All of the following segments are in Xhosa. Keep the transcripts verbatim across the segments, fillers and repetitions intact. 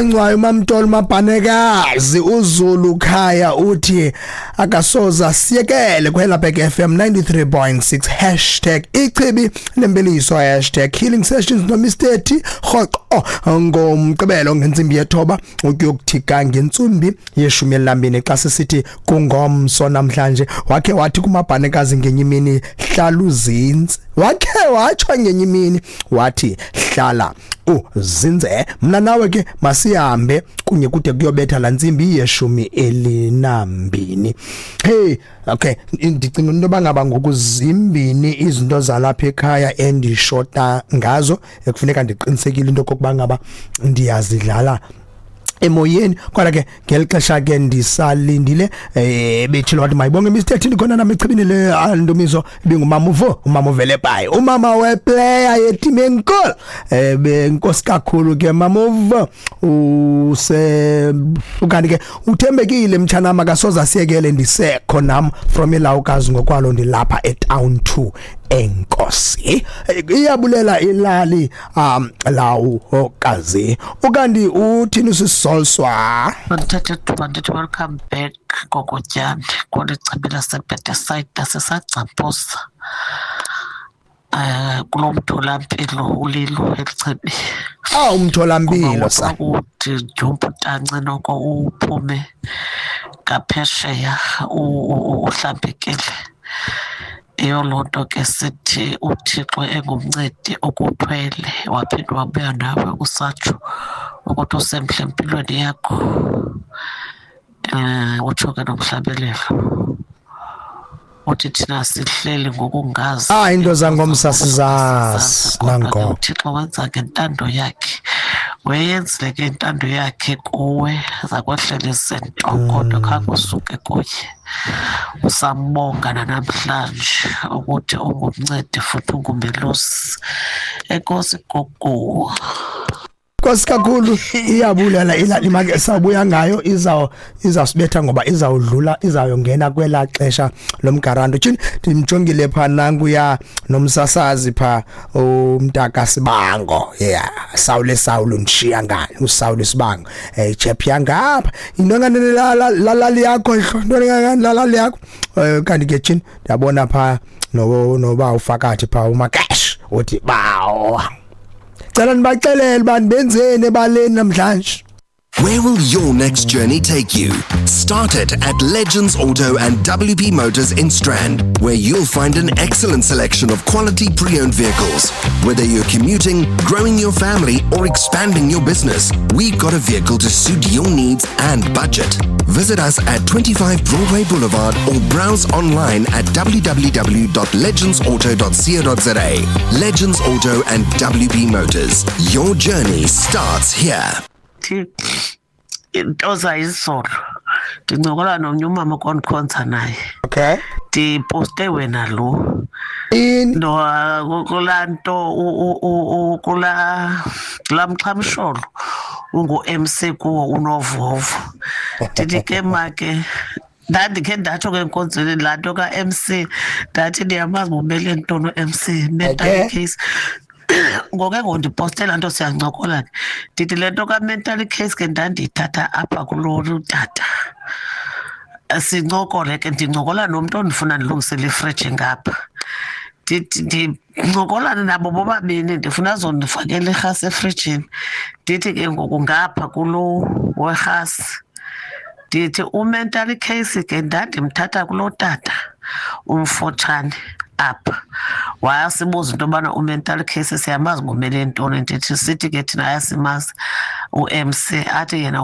Ngcwayo Mamtolo Mabhanekazi uZulu Khaya uthi akasoza siyekele kuHelabek F M ninety-three point six hashtag ichibi nembeliso hashtag healing sessions no Mister T rhoqo ngomgqibelo ngentsimbi yethoba ukuyokuthika ngentsimbi yeshumi elambini xa sisithi kungomso namhlanje. Wakhe wathi kuMabhanekazi ngenye imini hlala uzinze, wakhe watsho ngenye imini wathi hlala uzinze. Mna nawe ke masihambe kunye kude kuyobetha la ntsimbi yeshumi elinambini. Hey, okay, ndicinga into bangaba ngokuzimbini izinto zalapha ekhaya endishota ngazo ekufuneka ndiqinisekile into kokuba ngaba ndiyazidlala emoyeni. Kodwa ke ngeli xesha ke ndisalindile eh bethile wathi mayibonge Mister T khona nami echibini le Ndumiso ibingumama uvo umama uVelepayi umama weplayer yeteam enkulu eh benkosi kakhulu ke mama uvo use ukanti ke uthembekile mtshana makasoza siyekele ndisekho nam from elawukazi ngokwalo ndilapha etown two enkosi. Iyabulela ilali um lawukazi. Ukanti uthini usisolswa Ndithathe ithuba ndithi welcome back Gogotyane kweli chibi laseBethesda sisagcamposa um kulo mtholampilo ulilo elichibi. Ah, umtholampilo sa uthi dyumpu tanci noko uphume ngaphesheya uhlambekile. Iyo loo nto ke sithi uThixo engumncedi okuthwele waphinde wabuya nawe usatsho ukuthi usemhle empilweni yakho. Um utsho ke nomhlabelelo uthi thina sihleli ngokungazi. Ah, into zangomsa sizazi nango. uThixo wenza ngentando yakhe, weyenzile ke intando yakhe kuwe zakwehlela izinto kodwa khange usuke kuye. Usambonga namhlanje ukuthi ungumncedi futhi ungumelusi. Enkosi gogo. Nkosi kakhulu iyabulela ilali make sabuya ngayo izaw izawusibetha ngoba izawudlula izayongena kwela xesha lomgaranto. Tshini ndimjongile pha nanguya nomsasazi pha umntaka Sibango. Yeah, Sawule Sawulu ndishiya ngani uSawule Sibango. Eh chep yangapha into nganene lalali yakho into ngani lalali yakho. Kanti ke tshini ndiyabona pha no noba ufakathi pha uMakash uthi bawo. Cela nibaxelele bantu benzeni ebaleni namhlanje. Where will your next journey take you? Start it at Legends Auto and W P Motors in Strand, where you'll find an excellent selection of quality pre-owned vehicles. Whether you're commuting, growing your family, or expanding your business, we've got a vehicle to suit your needs and budget. Visit us at twenty-five Broadway Boulevard or browse online at w w w dot legends auto dot co dot z a. Legends Auto and W P Motors. Your journey starts here. Into zayizolo ndincokola nomnye umama kondikhonza naye. Okay, ndiposte wena lo no kulaa nto kulaa kulaa mxhamsholo ungu-M C kuwo unovovo. Ndithi ke make ndandikhe ndatsho ke enkonzweni laa nto ka-M C ndathi ndiyamazi bumele ntoni u-M C mental case. Ngoke ngondipostela laa nto siyancokola ke ndithi le nto ka-mental case ke ndandiyithatha apha kulo tata sincokole ke ndincokola nomntu ondifuna ndilungisele ifriji ngapha. Ndithi ndincokolane nabo bobabini ndifuna azondifakela irhasi efrijini. Ndithi ke ngoku ngapha kulo werhasi ndithi u-mental case ke ndandimthatha kulo tata umfotshane apha. Wayasibuza into yobana u-mental case siyamazi ngumele ntoni. Ndithi sithi ke thina ayasimazi u-M C athi yena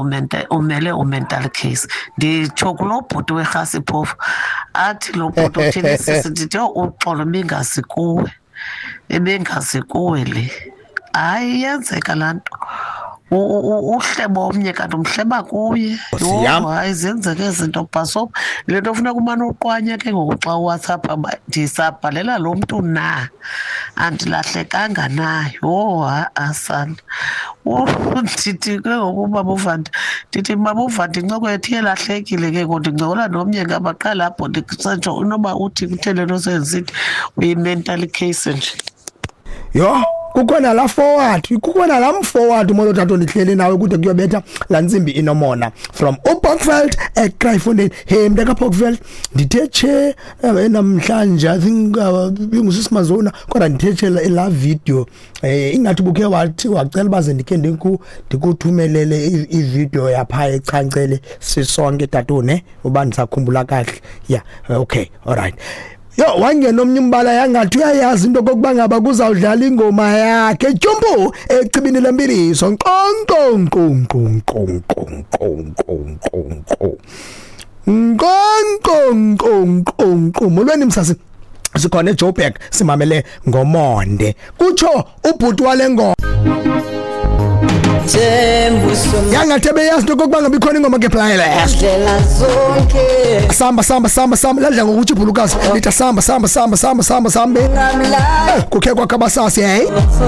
umele u-mental case. Nditsho kulo bhuti werhasi phofu athi lo bhuti uthini sisi. Ndithi yho uxolo ibingazi kuwe, ibingazi kuwe le. Hayi iyenzeka laa nto. Uhlebo omnye kanti umhleba kuye. Yho hayi zenzeke izinto bhasopa. Le nto funeka umane uqwanye ke ngoku xa uWhatsApp ndisabhalela lo mntu na andilahlekanga na. Yho ha-a sana. Ndithi ke ngoku ubaba uVandi ndithi baba uVandi incoko yethu iyelahlekile ke ngoku ndincokola nomnye ngapha qha lapho ndisetsho inoba uthi kuthe le nto senzisithi uyi-mental case nje. Yho Kukho nala forward, kukho nala forward. Molo tata, ndihleli nawe kude kuyobetha laa ntsimbi inomona from uPokveld eKraaifontein. Hey mntaka Pokveld, ndithe tshe eh, namhlanje, I think uh, ibingusisimazona, kodwa ndithe tshe la la video, eh ingathi bukhe wathi wacela baze ndikhe ndiku ndikuthumelele i- ivideo yapha echancele sisonke, tatune, uba ndisakhumbula kahle. Yeah, okay, alright. Yo, wangena omnye umbala, yangathi uyayazi into kokuba ngaba kuzawudlala ingoma yakhe tyumpu echibini lempiliso. Nqonqo nqo nqo nqo nqo nqo nqo nqo nqo nqo nqo nqo nqo. Molweni msasi, sikhona eJoburg, simamele ngomonde, kutsho ubhuti wale ngoma. Yangathi beyazi into kokuba ngaba ikhona ingoma ke playlist. Ndlela zonke. Samba samba samba samba, ladla ngokuthi ibhulukazi lithi samba samba samba samba samba sambe. Ngamla. Kukhe kwakhabasasi, hey.